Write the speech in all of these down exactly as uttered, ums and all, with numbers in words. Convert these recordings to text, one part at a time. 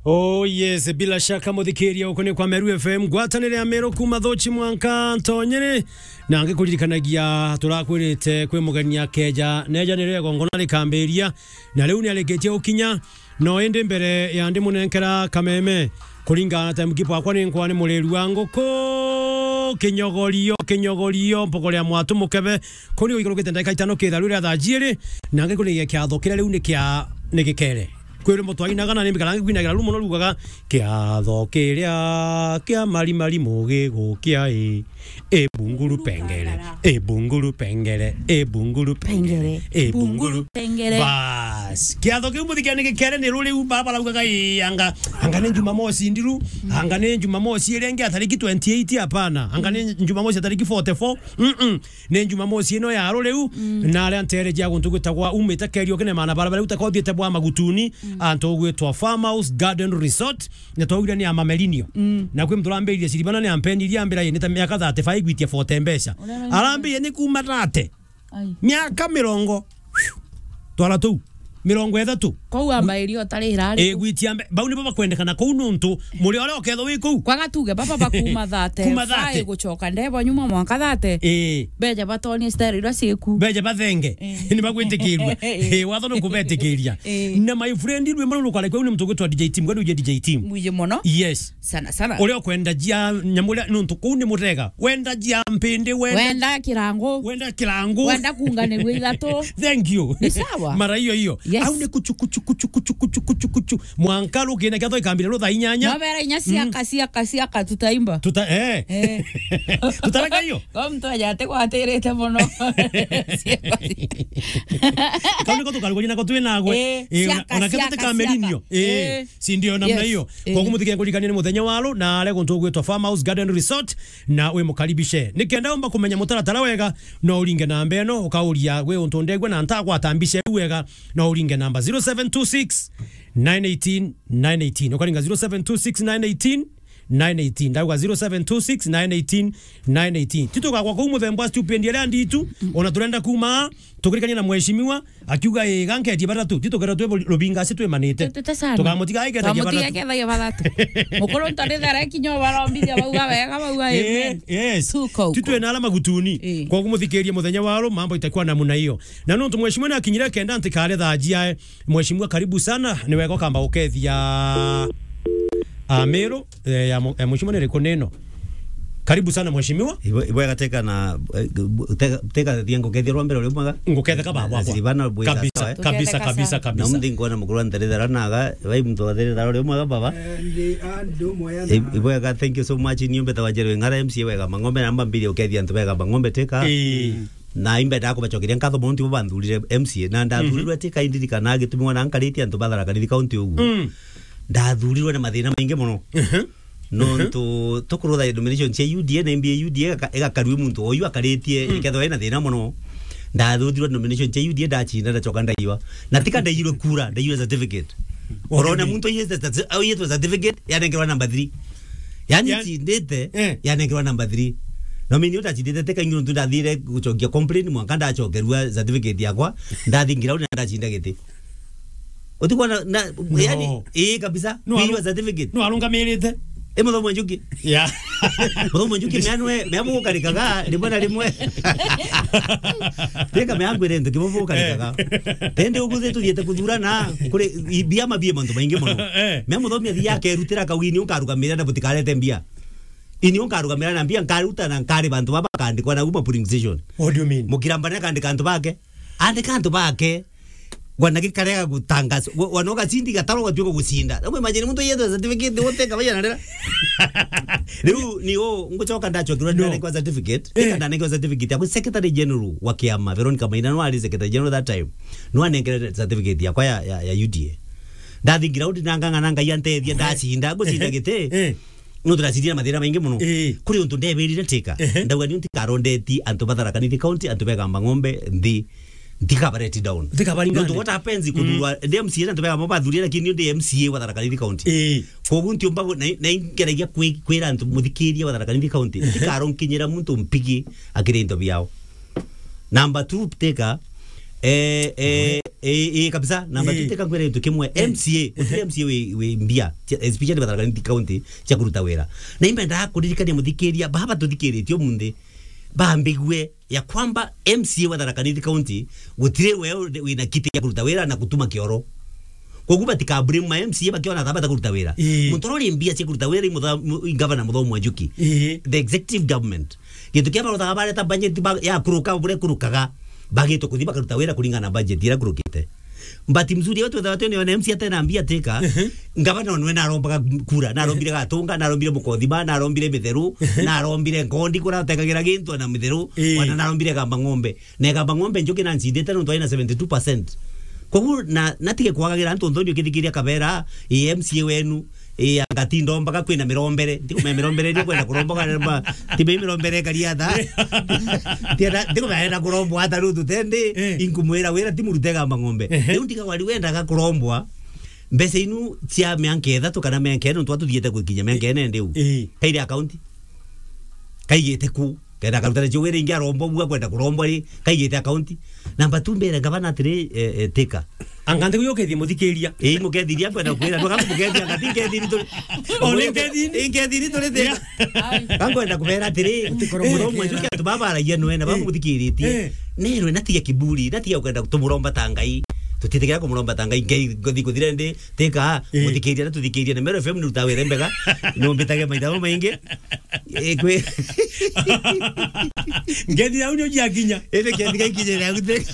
Oh yes, bila shaka muthikiria uku ni kwa Meru F M, ngwatanire ya Meru kuma Thuchi mwanka Ntonyere, na ngikuririkanagia turakwirite kwi mugeni akeja, neja nirio igongona rikambiria, na riu niarikitie gukinya, no indi mbere ya ndimunenkera kameme, kuringana na time keeper wakwa ni nkwa ni muriru wa nguku, kinyogorio, kinyogorio, mpogo ria mwatu mukebe, kuni uikurukite ndagika itano kitharu ria thaa jiiri, na ngikurigia kiatho kiria riu ni kia, ni gikere. Kwirwo mutwainaga na nimbikara ngikwinagira rumo no rugaga, "Kiatho kiria kia mari mari mugi gukia i, i bunguru pengere, i bunguru pengere, i bunguru pengere, i bunguru pengere." Bas. Kiatho kiu muthikia ni gikere ni ruriu baba raugaga, "I, anga, anga ni Jumamosi ndiru, anga ni Jumamosi iria ingi ya tariki twenty-eight, hapana. Anga ni Jumamosi ya tariki forty-four." Mm-mm. Ni Jumamosi ino ya ruriu, na aria nteere ja guntu gwitagwa umite Kerio kinema na barabara utakothiite bwa Magutuni, antu gwitwa Farmhouse Garden Resort, na twaugire ni ya Mamelinio. Na kwi mtu urambiririe ciribana ni ampenirie ambira ni ta miaka thirty-five gwitia forty mbeca. Arambiririe ni kuma thirty. Ai. Miaka mirongo. Twara tuu. Mirongo ithatu. Kou amba irio utari irari. Eh, gwitia mbe-, bau nibo bakwendekana kou nuntu muri uria ukethwa wi kou. Kwaga tuge baba bakuma thirty. Kuma thirty. Five gucoka ndebo nyuma mwanka thirty. Eh. Beja batonie style iria ciku. Beja bathenge. Eh. Ni bagwitikirua. Eh, watho ni kubetikiria. Eh. Na my friend, rwimbo ruru rukara kweu ni mtu gwitwa D J Team, kwani uje D J Team? Mwije mono. Yes. Sana, sana. Uria ukwenda jia nyamu uria nuntu kuu ni mutega. Wenda jia mpindi, wenda, wenda kirangu. Wenda kirangu. Wenda kunganirua ithatu. Thank you. Ni sawa. Mara hiyo hiyo. Yes. Au ni kuchu, kuchu, kuchu. Mwanka rukine kiatho ikambire rutha inyanya. Mabera inya ciaka, ciaka, ciaka, tutaimba. Tuta-, eh. Eh. Tutareka hiyo? Kwa mtu aja ate kwatirite mono. Kau niko tukarugania nako twinagwe. Eh, eh, ona, ciaka, ona ketho ciaka, tikamelinio. Ciaka. Eh. Eh. Si ndio namna hiyo? Yes. Eh. Kwa kumuthikia kulikania ni muthenya wa ru, na are guntu gwitwa Farmhouse Garden Resort, na wi mukaribishe. Nikenda umba kumenya mutaratara wega, no uringe namba ino, ukauria, "Gwi untu ndegwe na ntagwata mbica iu wega?" No uringe namba zero seven two six, nine eighteen, nine eighteen. Ukaringa zero seven two six, nine eighteen, nine eighteen. Ndauga zero seven two six, nine eighteen, nine eighteen. Titugakwa kuu muthemba wa stupid iria nditu, ona turenda kuma, tukirikania na mheshimiwa, akiuga, "Ii, ganketie batatu, ti tukethirwa twi rubinga aci twimanite." Tu-, tutasana. Tukamutiga aiketheria batatu. Tukamutiga aiketheria batatu. Mukuru ntarithera kinya barombithia bauga wega, bauga, eh, amen. Yes. Tuko huko. Titwe na ala magutuni. Eh. Kwa kumuthikiria muthenya wa ru, mambo itakuwa namna hiyo. Na nuntu mheshimiwa ni akinyire kenda ntikare thaa jiae. Mheshimiwa, karibu sana. Ni wega ukamba ukethia Ameru. Eh, ya mu-, eh, mheshimiwa ni riku nino? Karibu sana mheshimiwa. Ibwe-, ibwega teka na, eh, bu-, teka, teka thia ngukethia rwa mbere uri mwega. Nguketheka baba, baba. Siribana bwega. Kabisa, sawa, eh? Kabisa, kabisa, kabisa. Na mthi nkuona mukuru wa nterethera naga, bai muntu wa nterethera uri mwega baba. Eh, ndi andu mwega na. Ib-, ibwega, thank you so much. Ni umbeta wa Njero Ng'ara M C A wega mang'ombe na mbambiri ukethia antu bega mang'ombe teka. Eh. Na imbendaga kubacokeria nkatho mono, tibo banthurire M C A, na ndathurirwe ti kaindirikana gitumi wana nkaritie antu ba Tharaka Nithi County uguo. Mm. Ndathurirwe na mathina maingi mono. Mhm. Nontu tukurutha nomination cia U D A, na M B A U D A igaka-, igakarua muntu oyu akaritie, mm, ikethwa ina thina mono. Ndathurirwe nomination cia U D A, ndacinda, ndacoka ndaiwa. Na tika ndairwe kura, ndairwe certificate. What do you mean? Urona muntu aiyite certi-, aiyitwe certificate, yanengerwa number three. Yani, yani, cindite, eh, yanengerwa number three. No mimi utacindite teka ingi nontu ndathire gucokia complain mwanka ndacokerua certificate yakwa, ndathi ground na ndacinda giti. Utikwa na, na, no, yani, ii kabisa, no, kwiwa aru-, certificate. No arungamirite. E muthomo njuki. Yeah. Muthomo njuki meanwe, meamu gukarikaga, rimwe na rimwe. Teka meangu ire ntu kibo gukarikaga. Eh. Tende uguthi tuthiete kuthurana, kuri i-, biama bie mantu maingi mono. Eh. Mea muthomi athia akerutira kawini ukarugamira na butikarete mbia. Ini unkarugamira na mbia nkaruta na nkari bantu baba bakandikwa na uma polling station. What do you mean? Mukirambane akandika antu bake. Andika antu bake. Wana gikarega gutangaza. Wa-, wana ugacindi gataro ugatuika gucinda. Na imagine muntu yethe certificate wote kabaya na rera. Riu ni u ngucoka ndacokirwa, no, ndanengwa certificate. Eh. Ika ndanengwa certificate yakwa, Secretary General wa kiama, Veronica Maina, no ari Secretary General that time. No anengere certificate yakwa ya, ya, ya U D A. Ndathingira undi na ngang'ana Ngai antethia, eh, ndacinda, ngucinda giti. Eh. Nontu ndacinda na mathina maingi mono. Eh. Kuri untu ndebirire tika. Ehe. Ndauga niu ntikarondetie antu ba Tharaka Nithi County, antu begamba ng'ombe nthi. Ntikaba let down. Ntikabaringane. Nontu what happens, mm, kuthurwa ndi M C A na antu begamba bathurire, lakini niu ndi M C A wa Tharaka Nithi County. Eh. Koguo ntiumba gu-, na, na ingeragia kwi-, kwira antu muthikiria wa Tharaka Nithi County, ehe, ntikaronkinyira muntu mpigi akiri into biao. Number two, teka, Eh, eh, eh, eh, kabisa. Namba Eh. tuteka ngwere tu kimwe. Eh. M C A, gutire M C A wi, wi mbia, cia, especially Tharaka Nithi County, cia kuruta wira. Na imbendaga kuririkania muthikiria, baba tuthikiritie umunthi, bambigue ya kwamba M C A wa Tharaka Nithi County, gutire we uri, wina kiti ya kuruta wira na gutuma kioro. Koguo batika blame ma M C A bakiona thaa bata kuruta wira. Ii. Muntu uria uri mbia cia kuruta wira i mutha-, mu-, i gavana Muthomi wa Njuki. Ii. The executive government. Gintu kia barothaga bareta budget ba, ya kuruka, bure kurukaga. Bagitwe kuthi bakaruta wira kuringana na budget ira kurukite. But mzuri wetu wethaga twene one M C A atena mbia tika. Mhm. Ngavana onwe narombaga kura, narombire Gatunga, narombire Mukothima, narombire Mitheru, Mhm. narombire Nkondi kuratekagĩra gintu na Mitheru, Ii. ona narombire Gamba Ng'ombe. Na Gamba Ng'ombe Njuki na ncindite nontu aina seventy two percent. Koguo na, natige kwagagira antu nthoni ukithikiria kabera, ii M C A wenu, ii anga ti ndombaga kwina mirombere. Ndikumenya mirombere ni kwenda kuromboka, tibe mirombere karia tha. Tienda, ndikumenya enda kurombwa ata riu tutendi, Eh. inkumwira wira ti murute Gamba Ng'ombe. Ehe. Riu ndiga wari wendaga kurombwa, mbeca inu cia mianka ithatu kana mianka ina nontu atuthiete gukinya mianka ina ndiu. Eh. Kaire account. Kaigite ku. Kenda akaruta nacio wira ingi arombwa bua kwenda kurombwa ri, kaigite account. Namba tu mbere ngavana atiri, eh, eh, tika. Anga nthi yo kethie muthikiria. Ii, mukethiria kwenda kwira, ndwaka mukethia anga ti nkethiri tu. Ole nkethiri. Ii, nkethiri turi tika. Yeah. Kankwenda kubera atiri, Utikoro Muthomi wa Njuki antu baba baragia nwe na baba Eh. muthikiritie. Eh. Nerwe natige kiburi, natige kwenda tumuromba ta Ngai. Tutitikira kumuromba ta Ngai, Ngai ngothi kuthira ndi, tika, Eh. muthikiria na tuthikiria na Meru F M ni rutawe rembega. Nombitage maitha maingi. Eh, kwi- Ngethi yau nio jiakinya. Ende kethi gaikinyire yau te.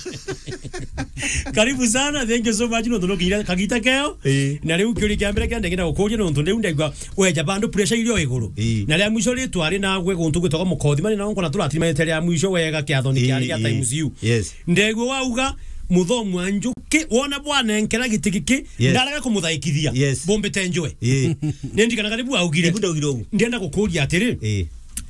Karibu sana, thank you so much, no tunokinyira kagita keo. Eh. Na riu kiuria kia mbere kia ndegenda gukuria nontu riu ndegwa weja bandu pressure irio iguru. Eh. Na ria mwisho ri twari na gwe guntu gwitagwa Mukothima ni na nkona turatirimanite ria mwisho wega kiathoni kia Eh, ria eh. Times U. Yes. Ndegwa wauga Muthomi wa Njuki wona bwanenkera giti giki Yes. ndarega kumuthaikiria. Yes. Bombite njwe. Eh. Nindikana karibu augire. Ibu ndaugire ugu. Ndienda gukuria atiri. Eh.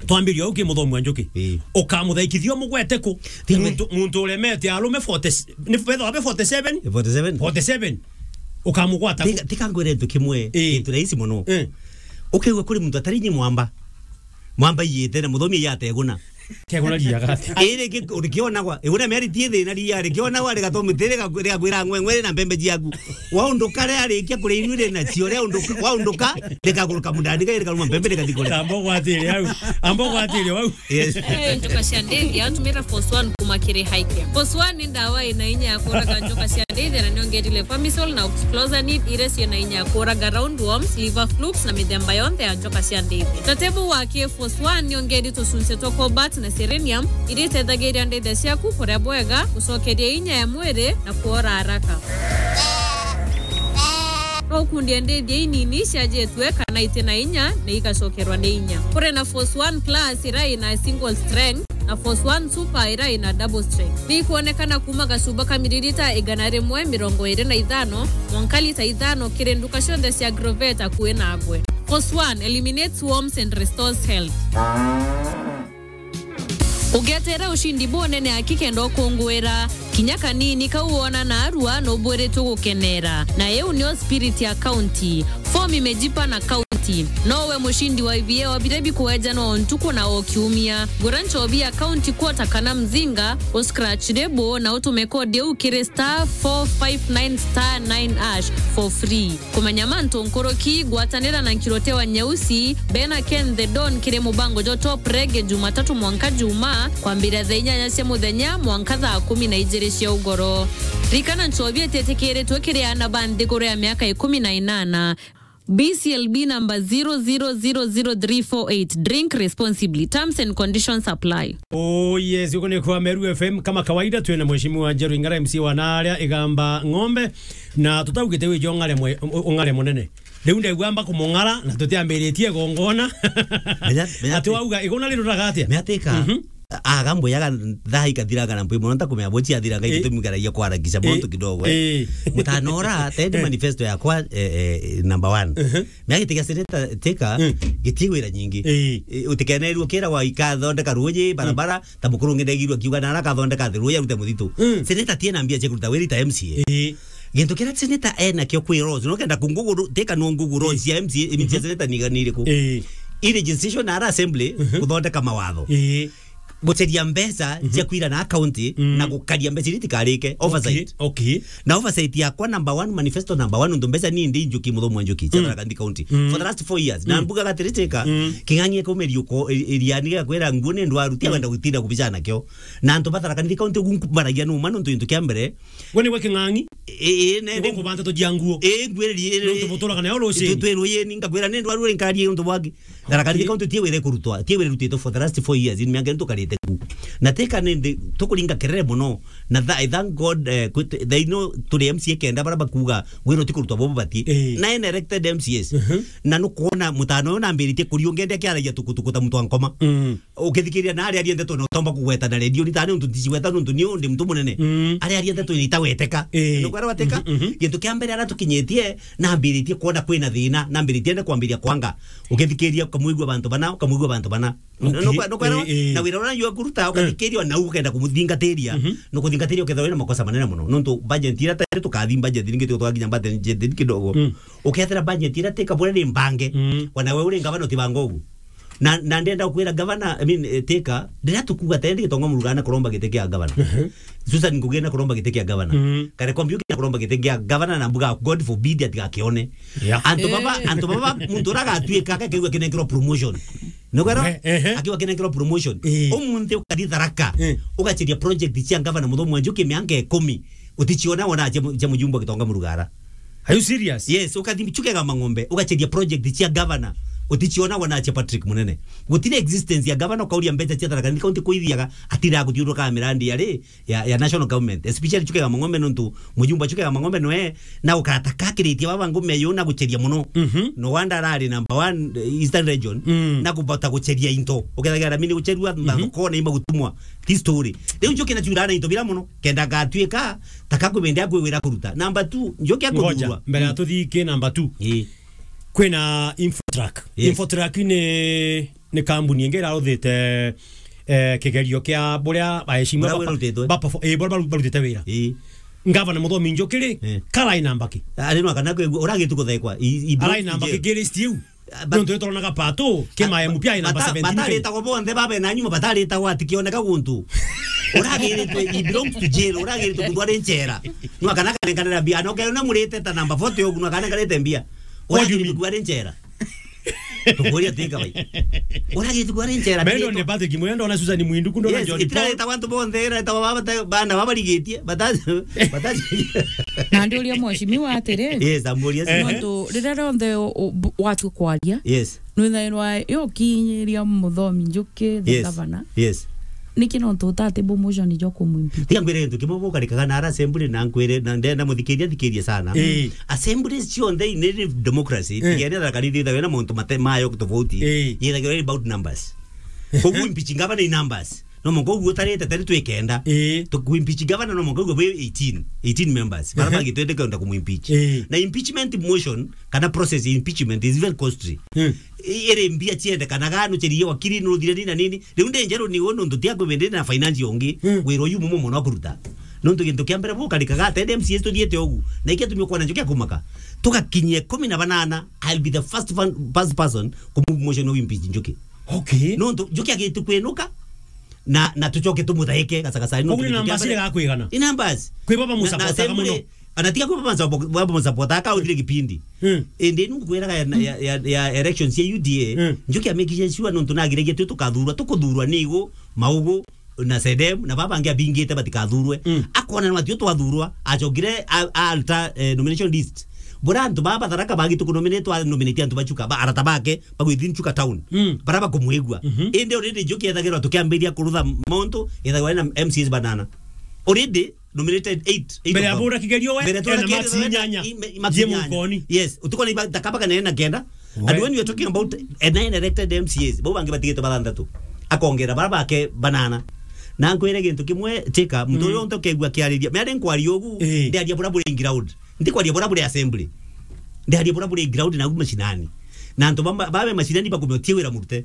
Twambirie au ki Muthomi wa Njuki. Eh. Ukamuthaikithia umugwete ku? Tiga. Muntu, muntu uremete arume forty, ni betha wabe forty seven? Forty seven. Forty seven. Ukamugwata ku? Tika, tika ngwire ntu kimwe. Eh. Kintu rahisi muno. Eh. Ukigua kuri muntu atari nyi mwamba. Mwamba iyite na Muthomi iyateguna. Kegona ria gati. Iri ki-, urikionagwa. Iguna miari ti thina ria, rikionagwa, rigatomite, riga-, rigakwira ng'weng'we ri na mbembe ciaku. Waunduka ria rikia kuria inu ri nacio, ria unduka, waunduka, rikaguruka mundani, gai rikaruma mbembe, rikathi kuria. Amba ugwatire au. Amba ugwatire au. Yes. Eh, njoka cia ndithia, tumira Force One kuma kiri Highcare. Force One ni ndawa ina inya ya kuraga njoka cia ndithia na niongerire Pamisol na Oxclosanid, iria ciina inya ya kuraga roundworms, liver flukes na mithemba yonthe ya njoka cia ndithia. Tatebu wa K Force One niongeri tucunci twa cobalt na selenium, iria itethagiria ndithia ciaku kuria bwega, gucokeria inya ya mwiri na kuora haraka. No ukundie ndithia inini ciajitwe kana iti na inya na igacokerwa ni inya. Kuri na Force One Plus iria ina single strength na Force One Super iria ina double strength. Ni ikwonekana kuma gacuba ka miririta igana rimwe mirongo iri na ithano mwanka lita ithano kiri nduka cionthe cia Agrovet akui nagwe. Force One eliminates worms and restores health. Ugeteera ushindi bunene aki kenda ukungwira. Kinya kanini kau wona naarua nubwiritwe gukeneera. Na iu nio spirit ya county. Form imejipa na county. Nowe mushindi wa I V A wa biria bikuejanwa o ntuku na o kiumia. Gura nchobi ya county quarter kana mzinga, u scratch label na utume code iu kiri star four five nine star nine hash for free. Kumenya mantu nkuruki, gwatanira na Nkirote wa Nyeusi, Bena Ken the Don kiri mubango jwa Top Reggae Jumatatu mwanka Juma, kwambiria thaa inyanya cia muthenya mwanka thaa kumi na ijiri cia ugoro. Rikana nchobi ititikiritwe kiri aana ba nthiguru ya miaka ikumi na inana. B C L B number zero zero zero zero three four eight. Drink responsibly. Terms and conditions apply. Oh yes, uko ni kwa Meru F M kama kawaida, twina mheshimiwa Njeru Ingara, M C wa Naria Igamba Ng'ombe, na tutaugite wiji ung'are mwe-, ung'are munene. Riu ndegua amba kumung'ara na tutiambiritie gongona. Menya, menya ati ati- wauga igona riruraga atia? Menya tika. Mhm. Aga mbuyaga thaa ikathiraga na mbui muno ntakumenya bo ciathiraga Eh. Itumi ngaragia kwarakisha Eh. muntu kidogo, eh. Eh. Mutanora, tendi Eh. manifesto yakwa, eh, eh, number one. Mhm. Menya giti gia seneta tika, Mm. giti wira nyingi. Eh. Eh, utikenerwo kira wa ikathondeka ruji, Mm. barabara, ta mukuru ungi ndegirwe akiuga na arakathondeka thi ruji arute muthitu. Mm. Seneta tiena mbia cia kuruta wira ta M C A. Eh. Gintu kiria seneta enakio kwi Rose, no kenda kunguguru, tika no ngugu Rose cia M C A, M C A Mm-hmm. seneta ni, ni iriku? Eh. I legislation na ara assembly Mhm. kuthondeka mawatho. Eh. guceria mbeca cia kwira na county na gukaria mbeca iria itikarike. Oversight. Okay. Na oversight yakwa number one, manifesto number one, untu mbeca ni ndi Njuki, Muthomi wa Njuki, cia Tharaka Nithi County. For the last four years. Na mbuga gatiri Teka, King'ang'i ekaumeria uko, i-, iriani gakwira nguo ni ndwaru, tia wenda gutinda kubicana kio. Na antu ba Tharaka Nithi County ugu nkubaragia numa nuntu gintu kia mbere. We niwe King'ang'i? Ii, ii, ne, niguo nkubanta tujia nguo. Ii, ngwiriri, ii, nuntu buturaga nayo rucini. Twirwe yeni, ngakwira ni ndwaru ri nkari untu bwaki. Tharaka Nithi County tie wire kurutwa, tie wire rutitwe for the last four years, ni miaka ino tukarite ku. Na Teka ni ndi, tukuringa kerere muno. Na tha-, I thank God, eh, kwit-, thaa ino turi M C A kenda bara bakuga wira utikurutwa bobo bati. Eh. Nine elected M C As. Na nukwona mutano uyu nambiritie kurio ngende akiaragia tukutuku ta mutwa nkoma. Ukithikiria na aria aria ndeto na utomba kugweta na redio, ni tani untu nticiweta nuntu ni undi muntu munene. Aria aria ndeto ni itaweteka. Eh. Nukwera wateka? Gintu kia mbere ara tukinyitie, nambiritie kwona kwina thina, nambiritie nde kwambiria kwanga. Ukithikiria, ukamwigua bantu bana, ukamwigua bantu bana. Okay. Nukwera, nukwera, eh, eh, na wira uria njua kuruta, ukathikiria na ukenda kumuthingatiria, nukuthingatiria ukethira wina makosa manene muno. Nuntu budget ira tayari tukathi budget ringi tu twakinya budget kidogo. Ukethira budget ira Teka buria ni mbange, wana we uri ngavana utibanga ugu. Na, na ndenda kwira gavana, I mean, eh, Teka, ndira tukuga tende gitonga murugana kuromba giti kia gavana. Susan Ngugi na kuromba giti kia gavana. Kare Kombiuki na kuromba giti kia gavana na mbuga, God forbid atigakione. Yeah. Antu baba, eh, antu baba, muntu ura agatuika akakigua kinenkerwa promotion. Nukwera? Eh, eh, eh. Akiwa kinenkerwa promotion. Eh. Umunthi ukathi Tharaka. Eh. Ugaceria project cia gavana Muthomi wa Njuki mianka ikumi. Uticiona wona cia mu-, cia mujumbe gitonga murugara. Are you serious? Yes, ukathi Chuka Igamba Ng'ombe, ugaceria project cia governor, uticiona wona cia Patrick Munene. Gutire existence ya governor, ukauria mbeca cia Tharaka Nithi County kuithiaga, atira guthiuruka mirandi ya ri, ya, ya national government, especially Chuka Igamba Ng'ombe, nuntu mujumbe wa Chuka Igamba Ng'ombe nwe, na ukarata kakiritie baba ngume yo na guceria muno. No wonder arari number one, eh, Eastern Region, na kubota guceria into. Ukethagira mini gucerua, mathoko na ima gutumwa. This story. Riu Njuki na ciurana into bira muno, kenda gatuika, taka kubendea kwigwira kuruta. Number two, Njuki akuthurwa. Ngoja, mbere ya tuthiki number two. Ii. Kwina Infotrak. Yes. Infotrak ni, ni kambuni ingi iraruthite, eh, kigerio kia buria baheshimiwa buria ba-, wirutitwe, ba-, perform-, eh, buria baru-, barutite wira. Ii. Ngavana Muthomi Njuki ri, eh, karai namba ki? Ari no kana kwigua, uragitu kuthekwa. I, i, arai namba ki list iu? But nontu nitoronaga Pato, ke ma M P ai namba seventeen. Bataritagwo bonthe babe na nyuma, bataritagwo atikioneka guntu. Uragiritwe, he belongs to jail, uragiritwe kuthwa ari nchera. Nwa kana kanenkanira mbia, no kena murite ta number forty ogu, nwa kana karite mbia. What do you mean? Uragiritwe kuthwa ari nchera. Tukuria tika bai. Uragiritwe kuthwa ari nchera. Mendo ni Patrick Mwendo na Susan Mwindu kundo na John Paul. Yes, itiraritagwo antu bonthe, iraritagwo baba ta-, bana babarigitie, bata-, bata-, Na ndiuria mheshimiwa atiri, yes, amburia. Nontu riria rionthe u-, u-, bu-, watua kwaria, yes, nwithairwa ukinyiria Muthomi Njuki, the, yes, governor. Yes. Niki nontu utati bu motion jo kumwimpeach? Tiga ngwire gintu kimwe, bukarikaga na ara assembly na nkwire, na ndenda muthikiria, thikirie sana. Eh. Assemblies cionthe ni democracy, eh, tigene Tharaka Nithi ithagwe na mauntu mate-, mayo tofauti. Eh. Yithagirwa ni about numbers. Koguo impeach governor ni numbers. No mwanka uguo utarite tari twi kenda. Ii. Tu-, ku impeach governor no mwanka uguo bwi eighteen, eighteen members. Bara, ehe, bangi twende kwenda kumu impeach. Ii. Na impeachment motion, kana process ya impeachment is very costly. Hmm. I-, iri mbia ciendekanaga, nucerie wakiri, nuthire nini na nini. Riu ndi njeru ni unu ndutia kwibindire na finance ungi, hmm, wira uyu mumo muno kuruta. Nontu gintu kia mbere bukarikaga, ati M C As tuthiite ugu. Na ikia tumio kwana njukia kumaka. Tugakinyia ikumi na banana, I'll be the first fan-, first person kumove motion of impeach Njuki. Okay. Nontu Njuki agitu kwinuka, na, na tucoke tumuthaike gacagacari. Koguo ni numbers ire gakwigana? Ni numbers. Kwi baba musupportaga muno. Ana tiga kwi baba musupport-, baba musupport, akauthire kipindi. Hmm. Indi ni ngukwiraga ya, ya, ya, ya elections cia U D A, hmm, Njuki amekishe sure nontu nagiragia tu tukathurwa, tukuthurwa ni igu, maugu, na sedem, na baba bangi abingite batikathurwe. Hmm. Akona ni atio twathurwa, acokire a, a alter, eh, nomination list. Bura antu baba Tharaka bagi tukunominate, a nominate antu ba Chuka, ba arata bake, bagwithi Chuka town. Mm. Bara bakumwigua. Mhm. Indi already Njuki ethagirwa tukiambiria kurutha mauntu, ethagirwa na M C As banana. Already nominated eight, eight. Mbere ya of them. Bura kigerio we, mbere ena ena marks inyanya. I-, ma-, marks inyanya. Mukoni. Yes, utuko ni ba-, takaba kana ena kenda. We. And when you are talking about a nine elected M C As, bau bangi batigite bathanthatu. Akongera bara bake banana. Na nkwire gintu kimwe, Teka, muntu, mm, uyu onto kegua kiariria. Mea ndi nkwaria ugu, eh, ndiaria bura buri in ground. Ndikwaria bura buri assembly. Ndiaria bura buri ground na ugu mashinani. Na antu bamba-, babe mashinani bakumio tie wira murute.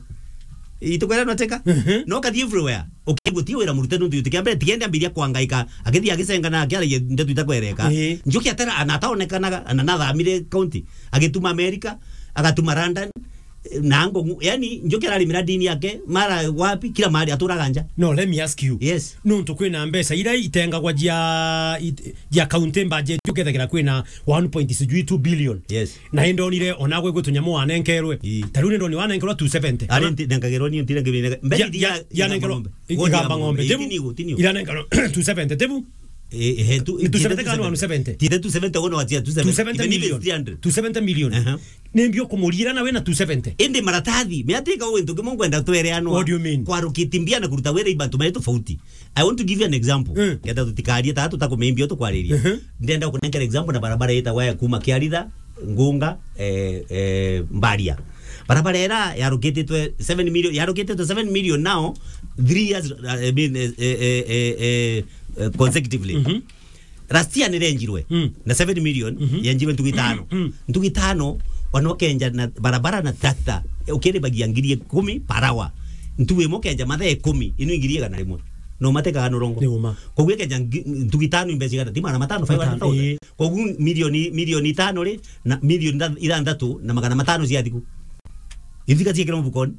Itukwera no Teka? Mhm. No kathi everywhere. Ukigua tie wira murute nuntu yuti kia mbere, tigende ambiria kwangaika. Akithi agicenga na akiaragia ndeto itakwereka. Eh. Njuki atera, ana ataonekanaga, ana nathamire county. Agituma America, agatuma London. Na ngo, yani, Njuki ararimira dini yake, mara wapi, kila mahali aturaga nja. No, let me ask you. Yes. Nontu kwina mbeca iria itengagwa jia, it-, jia county budget, ukethagirwa kwina one point sijui two billion. Yes. Na indonire ona gwe gwe tunyamu wanenkerwe. Ii. Ta riu nindoni wanenkerwa two seventy. Ari nti-, nenkagerwa ni ntire ngibine. Mbeca ya, iria ya, ya igamba nenkerwa ng'ombe. Igamba ng'ombe. Ii, tebu. Tiniu, tiniu. Iranenkerwa two seventy, tebu. Eh, eh, tu-, ni two seventy kana one seventy? Tite two seventy, wona watia two seventy. Two seventy million. Even three hundred. Two seventy million. Aha. Ni mbio kumurira na wina two seventy. Indi maratathi, miatika wintu kimwe nkwenda twereanwa. What do you mean? Kwarukiti mbia na kuruta wira ibantu mai tofauti. I want to give you an example. Mm. Kenda tutikarie ta tutakumimbia tukwariria. Mhm. Ndenda kunenkera example na barabara yetagwa ya kuma Kiaritha, Ngunga, eh, eh, Mbaria. Barabara era yarukititwe seven million, yarukititwe seven million now, three years, uh, I mean, eh, eh, eh, eh, eh, consecutively. Mhm. Last year nirenjirwe. Mm. Na seven million, mhm, yenjirwe ntugu itano. Mm. Ntugu itano, wanokenja na barabara na tractor, ukiribagia ngiri ikumi per hour. Ntugu imwe ukenja mathaa ikumi, inu ngiri igana rimwe. No matekaga norongo. Ni uma. Koguo ikenja ngi-, ntugu itano imbeca igana, ti magana matano, five hundred thousand. Ii. Koguo milioni, milioni itano ri, na milioni itha-, ithanthatu na magana matano cia thiku. Ithika ciekirwo mfukoni.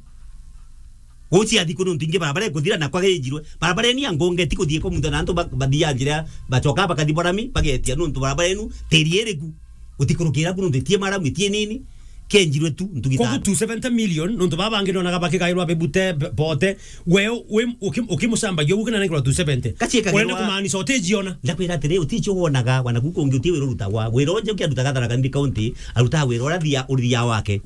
Gucia thiku nontu ingi barabara ikuthira na kwageijirwe. Barabara eni ya Ngunga itikuthie kwa muntu na antu ba-, bathia njira, bacoka bakathi Borami, bagetia nontu barabara enu tiri iriku. Utikurukira ku nontu itie maramu, itie nini, kenjirwe tu ntugi. Kogu itano. Two seventy million, nontu baba bangi nonaga bakigairwa bebute, b-, bote, we, we, uki-, ukimucambagia ugu kinanengirwa two seventy. Kaciekagirwa. Urenda kumaanisha utijiona? Ndakwira atiri, uticio wonaga, wana ku kungi uti wira urutagwa. Wira unje ukiarutaga Tharaka Nithi County, arutaga wira uria thia, uria wake.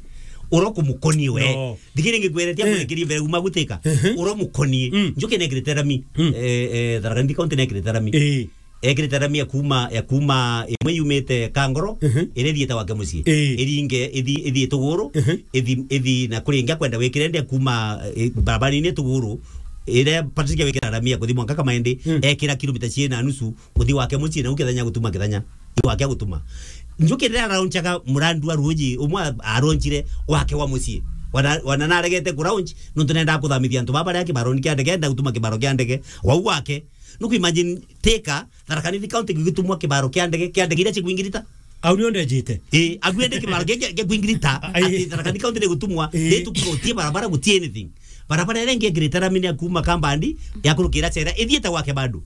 Uro kumukoni we. No. Thikiri ngikweretia, eh, mwekirie mbere uma gutika. Mhm. Uro mukoni. Mm. Njuki nekirite rami. Mm. Eh, eh, Tharaka Nithi County nekirite rami. Eh. Ekirite rami ya kuma, ya kuma imwe yumite Kangoro, mhm, iria ithiite gwake mucii. Ii. Iringe, ithi, ithi Ituguru, mhm, ithi, ithi na kuri ingi akwenda wikire ndia kuma, eh, barabara-ini Ituguru, iria Patrick wikira rami ya kuthi mwanka Kamaindi, mm, ekira kilomita ciiri na nusu, kuthi gwake mucii, na ukithenya gutuma kithenya. Gwake gutuma. Njuki riria araunchaga murandu wa ruuji, umwe a-, araunchire wake wa mucii. Wana, wana naregete kuraunch, nontu nendaga kuthamithia antu baba baria kibaroni kia ndege, enda gutuma kibaro kia ndege, wau wake. Nuku imagine, Thika, Tharaka Nithi County gigitumwa kibaro kia ndege, kia ndege iria cikwingirita. Au nio ndejite. Ii, agu ende kibaro kia, kia, kia kwingirita, ai, ati Tharaka Nithi County nigutumwa, ii, ni tukurutie barabara, guti anything. Barabara iria ingi ngirite rami ni ya kuma Kambandi, ya kurukira Chera, ithiite gwake bado.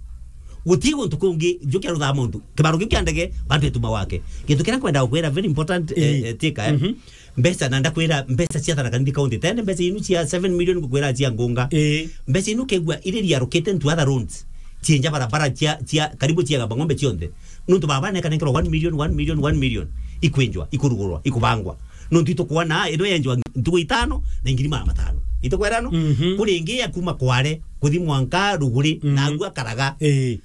Guti guntu kungi, njuki aruthaa muntu. Kibaro kiu kia ndege, bantu ituma gwake. Gintu kiria nkwenda gukwira very important, eh, ii, eh, Thika, eh. Mhm. Mbeca, na ndakwira mbeca cia Tharaka Nithi County, tene mbeca inu cia seven million ngukwira cia Ngunga. Ii. Mbeca inu kegua iria riarukite into other roads. Cienja barabara cia, cia, karibu cia Gamba Ng'ombe cionthe. Nontu baba nekanenkerwa one million, one million, one million. Ikwinjwa, ikurugurwa, ikubangwa. Nontu itukwona, ino yenjwa ntugu itano na ngiri magana matano. Itukwira no? Mhm. Kuri ingi ya kuma Kware, kuthi mwanka Ruguri, mhm, na agua Karaga. Ii.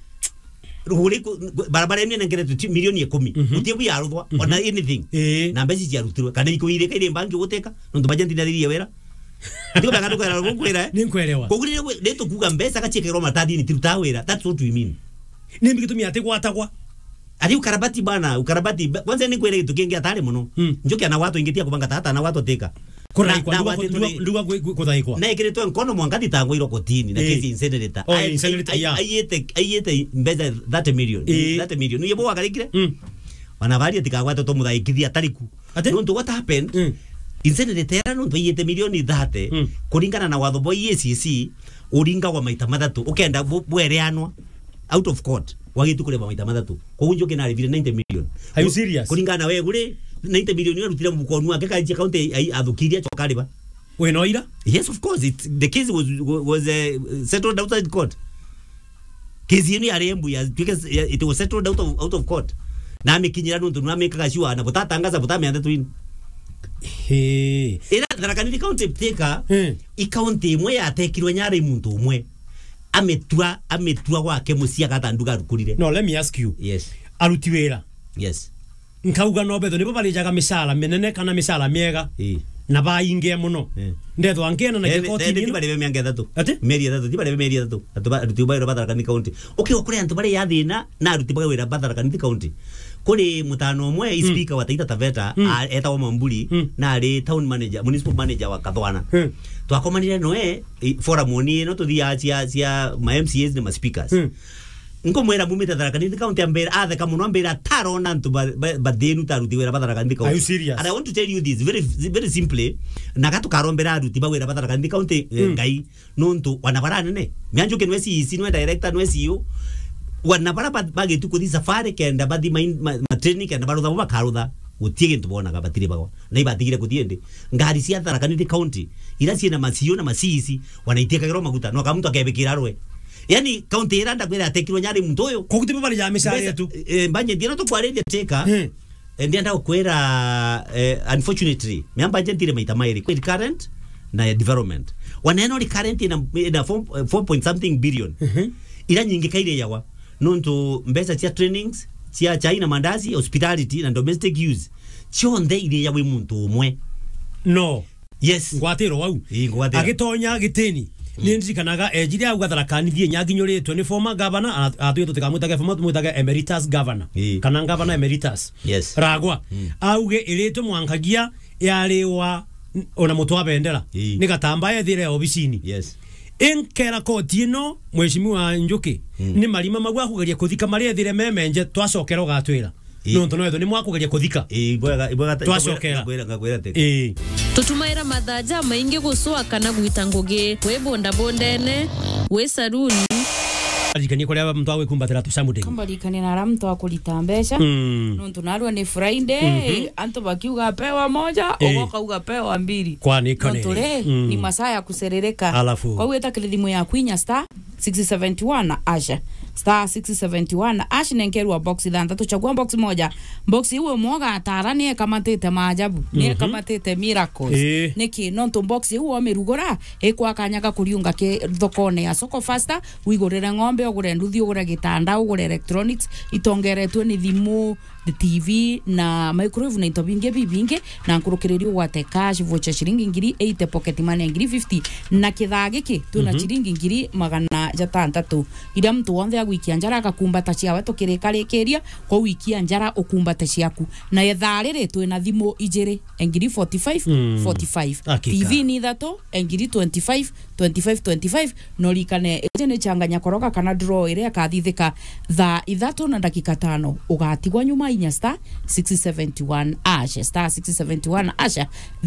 Ruguri ku-, ku-, barabara ino inengeretwe ti milioni ikumi. Mhm. Guti bu yaruthwa, mhm, ona anything. Ii. Na mbeca ciarutirwe. Kana ikuirika iri mbangi guteka, nontu bajenti ndathirie wira. Ndio beka tukwera gukwira, eh? Ninkwerewa. Koguo ni, ni tukuga mbeca gaciekirwo maratathini tiruta wira. That's what we mean. Ni mbi gitumi ati gwatagwa. Ari ukarabati bana, ukarabati. Ba-, kwanza ni kwere gitu kingi atari muno. Mm. Njuki ana watu ingitia kubanga tata ana watu Thika. Kuraikwa, na, na nduga watu ku-, nduga, turi nduga ku-, ku-, kuthaikwa. Na ikiritwe nkono mwanka thitangwa iro kotini, na, eh, kesi incinerator. Oh, ai-, incinerator, ai-, yeah. Aiete, aiete mbeca thirty million. Eh. Thirty million. Uye bo wakarikire? Mm. Wana bari atikagwate to muthaikithia atariku. Ati? Nontu what happened? Mm. Incenerator era nontu aiyite milioni thirty, mm, kuringana na watho bwa E A C C, uringagwa maita mathatu. Ukenda bu-, bwereanwa out of court, wagitu kuriba maita mathatu. Koguo Njuki naribire ninety million. Are you serious? Kuringana na we guri ninety million arutire mfukoni wake, kainjia county ai-, athukiria, acoka ariba. Wina uira? Yes, of course. It, the case was, was, uh, settled outside court. Kesi ino yari embu ya, ya, it was settled out of, out of court. Na amikinyira nontu na amekaga sure na butatangaza, butamenyete twin. Hey. Ira Tharaka Nithi County Thika, hmm, i county imwe yatekirwe nyara i muntu umwe. Ametua, ametua gwake mucii agata nduga arukurire. No, let me ask you. Yes. Aruti wira. Yes. Nkauga no betho nibo barijaga micara minene kana micara miega. Ii. Na bainge muno. Ii. Ndethwa ngiena na, eh, kigoti, eh, nyina. Ti baribe miaka ithatu. Ati? Mieri ithatu, ti baribe mieri ithatu. Atu ba, aruti ba wira ba Tharaka Nithi County. Ukiuga kuri antu baria ya thina, na aruti ba wira ba Tharaka Nithi County. Kuri mutano umwe, mm, speaker wa Taita Taveta, mm, a, etagwa Mamburi, mm, na ari town manager, municipal manager wa Kathwana. Mm. Twakomanire noe, i, forum ni ino tuthiaga cia, cia ma M C As na ma speakers. Mm. Nkumwira mumite Tharaka Nithi County, ambira, atheka muno, ambira, "Tarona antu ba-, ba-, bathinu ta aruti wira ba Tharaka Nithi County." Are you serious? And I want to tell you this very, very simply. Na gatukarombera aruti ba wira ba Tharaka Nithi County, eh, Mm. Ngai, nontu wana bara nene. Mianjuke nwe C E C, nwe director, nwe C E O. Wana bara ba-, bagitu kuthi safari kenda bathi main-, ma-, ma training kenda barutha bo bakarutha. Gutie gintu bonaga batiri bagwa. Na ibatigire kuthii indi. Ngari cia Tharaka Nithi County, ira ciina ma C E O na ma C E C, wanaitiikagirwa maguta, no ka muntu akebikira rwe. Yani, county ira ndakwira atekirwe nyari muntu uyu. Koguo ti bo bari ya micara Mbeca, yetu. Eh, budget ira tukwariria teka, Hmm. eh, ndienda gukwira, eh, unfortunately, mea budget ire maita mairi, kwi recurrent na ya development. Waneno recurrent ina, ina four, eh, four point something billion. Mhm. Ira nyingi kaire yawa. Nontu mbeca cia trainings, cia chai na mandazi, hospitality na domestic use, cionthe iriaga wi muntu umwe. No. Yes. Ngwatiro wau. Ii, ngwatiro. Agitonya gitini. Mm. Ni ndirikanaga ejire au Gatharakani thie nyaginyoritwe ni former governor, a-, atwire tutikamwitage former, tumwitage emeritus governor. Ii. Kana governor emeritus. Yes. Ragwa. Mm. Auge iritwe mwankagia yariwa n-, ona mutwa bendera. Ii. Ni gatambaya ethire obisini. Yes. Inkera koti ino, Mheshimiwa Njuki, Mm. ni marima mau akugeria kuthika maria ethire memenje, twacokera ugatwira. Ii. Nontu no ethwe ni mwakugeria kuthika. Ii, ibwega, ibwega ta-, Twacokera. Ngakwira, ngakwira, ngakwira ati. Ii. Tutumaira mathaa jamaingi gucwa kana gwita ngugi, wi bondabondene, wi saruni. Arikanie kuria muntu agwikumbatira tucamu ndege. Kambarikanie na aria muntu akurita mbeca. Mm. Nontu narua ni Friday, Mhm. antu bakiuga pewa moja, Ii. ugoka uga pewa mbili. Kwani kone. Nontu ri, Mm. ni masaa ya kuserereka. Alafu. Kwou ita kiri thimu yaku inya star six seventy one hash. Star six seventy one hash, nenkerwa box ithanthatu, chagua box moja. Box iu umwe ugatara ni ekamatite maajabu, ni Mhm. ekamatite miracles. Ii. Niki? Nontu box iu wamirugura, ikwa kanya ga kuriunga ki thokone ya Soko Faster, wigurire ng'ombe, ugure nduthi, ugure gitanda, ugure electronics, itongeretwe ni thimu, T V na microwave na into bingi bibingi, na nkurukiriri ugwate cash voucher ciringi ngiri eighty, pocket money ngiri fifty, na kithaa giki twina Mhm. ciringi ngiri magana jatantatu, iria muntu wonthe agwikia njara agakumbata ciawe tukirikarikiria. Kwou ikia njara ukumbate ciaku, na ithaa riri twina thimu ijiri, ngiri forty five, Mm. forty five. Hakika. T V ni ithatu, ngiri twenty five, twenty five, twenty five, no rikane, iji ni changanya koroga kana draw iria ikathithika thaa ithatu na ndagika tano. Ugatigwa nyuma inya star six seventy one hash, star six seventy one hash.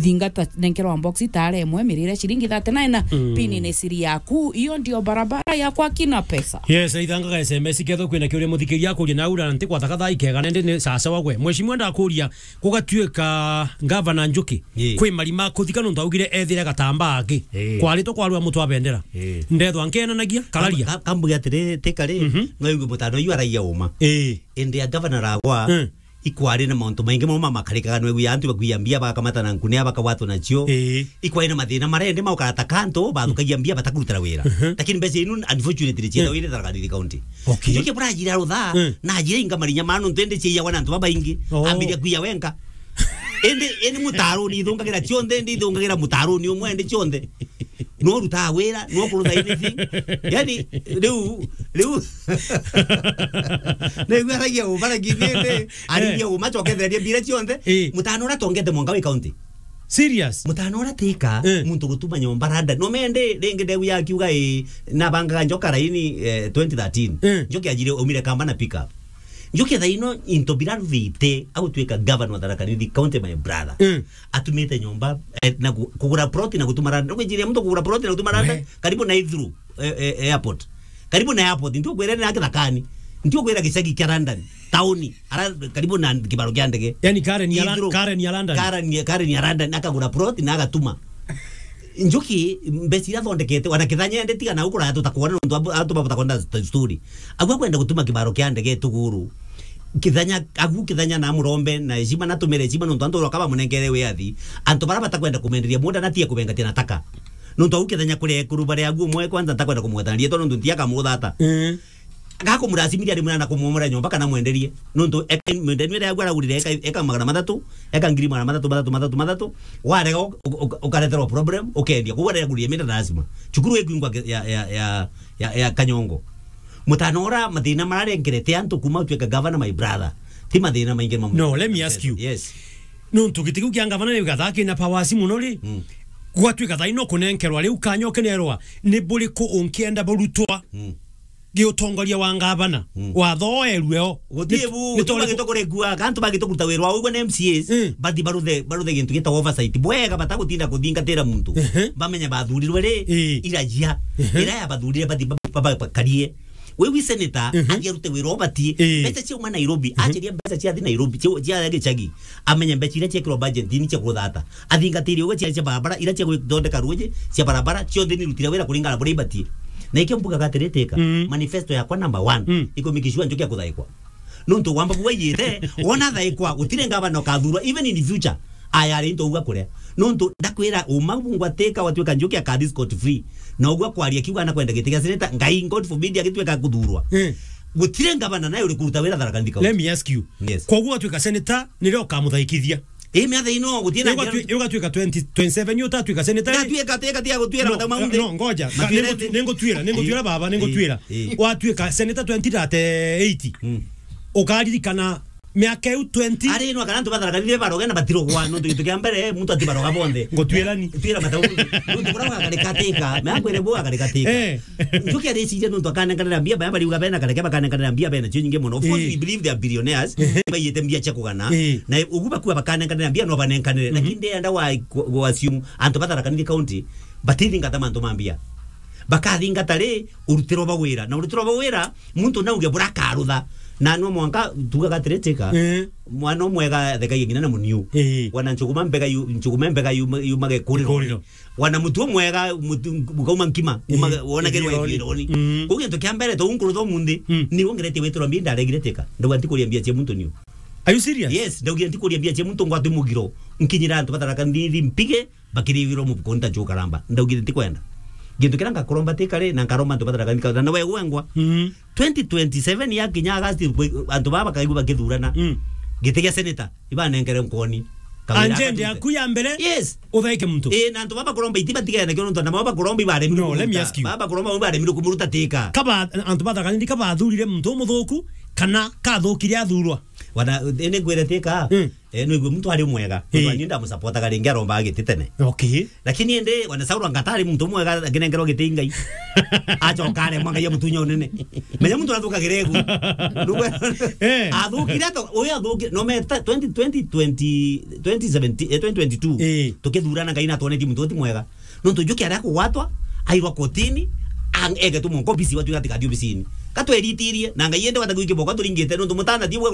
Thingata nenkerwa box itare imwe mirire ciringi thirty nine. Mm. Pini ni siri yaku, iyo ndio barabara ya kwa kina pesa. Yes, ithangaga S M S ketho kwina kiuria muthikiria akuria na ura nti kwataka thaa ikega nende ni sasa wagwe. Mheshimiwa ndakuria, gugatuika Gavana Njuki, Ii. kwi marima kuthika nontu augire ethire gatambaa aki. Ii. Kwaritwe kwarua mutwa bendera. Ii. Ndethwa nkenanagia, kararia. Kam-, kam-, kambuge atiri, ti kari, Mhm. no igue mutano yu aragia uma. Ii. Indi a gavana ragwa, Mm. ikwari na mauntu maingi mo mamakarikaga, no igue antu bakuia mbia bakamatana nkunia bakagwatwa nacio. Ii. Ikwari na mathina maria indi maukara ta kantu bathukagia mbia batakurutira wira. Mhm. Lakini mbeca inu unfortunately ciethawa Mm. iri Tharaka Nithi County. Okay. Njuki burajira rutha, Mm. na ajira inga marinya manu ntende ciawa na antu babaingi. Oh. Ambiria kuia wenka. Indi, indi mutaruni ithungagira cionthe, indi ithungagira mutaruni umwe, indi cionthe. No ruta wira, no kurutha anything. Yani, riu, riu. Nigua aragia u, baragia indi, arigia Eh. u, macokethereria mbira cionthe. Eh. Mutano ura tongete mwanka wi county. Serious? Mutano ura tika, Eh. muntu gutuma nyomba London. No mende, ringi ndegu yakiuga, eh, nabangaga njoka raini, eh, twenty thirteen. Eh. Njoki ajire umire kamba na pick up. Njuki thaa ino into bira ruthite, agutwika governor wa Tharaka Nithi County, my brother. Mm. Atumite nyomba, eh, na ku-, kugura plot na gutuma London. Nukwijiria muntu kugura plot na gutuma London, We. karibu na Heathrow, eh, eh, airport. Karibu na airport, ndio kwere na Kithakani. Ndio kwera gicagi kia London, tauni, ara karibu na kibaro kia ndege. Yani Karen ya Lon-, Heathrow. Karen ya London. Karen ya, Karen ya London, akagura plot na agatuma. Njuki, mbeca iria athondekete, wana Kithanya ende tiga na ukura atuta kuona nontu abu-, atu babuta kwenda st-, story. Agua kwenda gutuma kibaro kia ndege Tuguru. Kithanya, agu Kithanya na murombe na heshima, na tumere heshima nontu antu bakaba munengere wiathi. Antu bara batakwenda kumenderia munda na tie kubengatia na taka. Nontu agu Kithanya kure kuru bare agu umwe kwanza ntakwenda kumweta rietwa nontu ntiaka muthata. Mm. Gakumuracimithia rimwe na kumwomora nyomba kana mwenderie. Nontu eka, mwenderie ria agwa aragurire eka, eka magana mathatu, eka ngiri magana mathatu, mathatu, mathatu, mathatu. Warega u-, u-, u-, ukareterwa problem, ukendia. Koguo aragurire mita lazima. Cukuru ikwingwa ke-, ya, ya, ya, ya, ya Kanyongo. Mutano ura mathina mararengerete antu kuma utuike governor, my brother. Ti mathina maingi mamu-. No, let me ask you. Yes. Nontu giti kiu kia governor ni gathaa kina powers muno ri. Mm. Gwatuika thaa ino kunenkerwa riu kanya ukenerwa ni buriku unkienda burutwa? Mm. Giutongoria wa ngavana, mm, wathoerue o. Guti bu, ni tondu bagitwa kuregua, kantu bagitwa kuruta wira wa ugwe na M C As, mm, bathi baruthe, baruthe gintu gitagwa oversight. Bwega batagutinda kuthingatira muntu. Ehe. Bamenye bathurirwe ri, ii, irajia. Ehe. Ira ya bathurire bathi ba-, ba-, ba-, bakarie. We wi senator, mhm, athi arute wira ubatie. Ii. Mbeca ciauma Nairobi, mhm, acheria mbeca ciathi Nairobi, cia, cia gicagi. Amenye mbeca iria ciekirwo budget ni cia kuthata. Athingatiri ugwe cia, cia barabara, iria cia guthondeka ruji, cia barabara, cionthe ni rutira wira kuringana na buria ibatie. Na ikio mbugaga atiri Teka, mm, manifesto yakwa number one, mm, ikumikishua njukia kuthaikwa. Nontu wamba bwaiyite, wona thaikwa, gutire ngavana ukathurwa, even in future, ayari into uga kuria. Nontu ndakwira uma bungwa Teka watwika njukia kathi scot free. Na ugwa kwaria kiuga na kwenda giti gia senator, Ngai, God forbid, agitwika kuthurwa. Mm. Gutire ngavana naye uri kuruta wira Tharaka Nithi County. Let me ask you. Yes. Koguo watwika senator, nirio ukamuthaikithia? Ii, miatha ino, gutie na njira. Ugatwi-, ugatwika twenty twenty-seven, utatwika senator, ii? Ndatwika Teka, tiga gutwira. No, matau maundi. No, ngoja. Matwire ningutwi-, ningutwira, ningutwira, ii, baba, ningutwira. Ii, ii. Watwika senator twenty thirty-eight. Mm. Ukaririkana miaka iu twenty. Ari no kana antu ba Tharaka Nithi baroge na batirogwa, nontu gintu kia mbere, muntu atibaroga bonthe. Ngutwirani. Twira matau. Nontu kuria gwakarika Teka, me akwire bu gwakarika Teka. Eh. Njukia reciria nontu akanenkanira mbia, baya bariuga bena kareke bakanenkanira mbia bena cio nyingi mono. Of course, eh, we believe they are billionaires, eh, baiyite mbia cia kugana. Eh. Na ugu bakua bakanenkanira mbia, no banenkanire. Mhm. Lakini ndienda wa, wa assume antu ba Tharaka Nithi County batithingata mantu ma mbia. Bakathingata ri, urutiro ba wira. Na urutiro ba wira, muntu nauge burakarutha. Na no mwanka tugaga atiri Teka. Eh. Mwana umwega thekagia ngina na muniu. Eh. Wana nchuguma mbega yu, nchuguma mbega yu, yumage kuriro. Kuriro. Wana mutu umwega, mutu, ukauma nkima, eh, uma, wona gerwa ithironi. Ithironi. Mm. Kuu gintu kia mbere, to unkurutha umunthi, mm, ni wongeretie witiro mbia ndaregire Teka. Ndauga ntikuria mbia cia muntu niu. Are you serious? Yes, ndaugire ntikuria mbia cia muntu ngwatwi mugiro. Nkinyira antu ba Tharaka Nithi mpige, bakirigirwo mubuko nta njukaramba. Ndaugire ntikwenda. Gintu kiria ngakuromba Teka ri, na nkaromba antu ba Tharaka Nithi County, na we gwengwa. Mm. Twenty twenty-seven yakinya August, kwe-, antu baba bakaigua bakithurana. Mm. Giti gia senator, ibanenkere nkoni. Kawira. Agenda akaruta. Yaku ya mbere, yes, uthaike muntu. Ii, na antu baba bakuromba iti batigene kio nontu na baba bakuromba ibaremire. No, let me kumuruta. Ask you. Baba bakuromba ibaremire kumuruta Teka. Kaba, antu ba Tharaka Nithi kabathurire muntu umuthuku, kana kathukire athurwa? Wana, ene ngwire Teka. Mm. Eh, no igwe muntu ari mwega. Ii. Nontu ni ndamusapotaga ringi arombaga giti tene. Okay. Lakini ende, wana Sauro anga atari muntu mwega, akinengerwa giti i Ngai. Acoka aremwa Ngai amutunya unene. Menya muntu athukagire egu. Nugwe. Eh. Athukire ato, uyu athukire, no meta twenty twenty, twenty, twenty seventeen, eh, twenty twenty-two. Eh. Tukithurana Ngai natwonetie muntu uti mwega. Nontu njuki aria kugwatwa, airwa kotini, ang-, egetwe mwanka obisi, watwira ati kathi obisini. Katweritirie, na Ngai ende wata gwiki boko turingite, nontu mutana ti bwa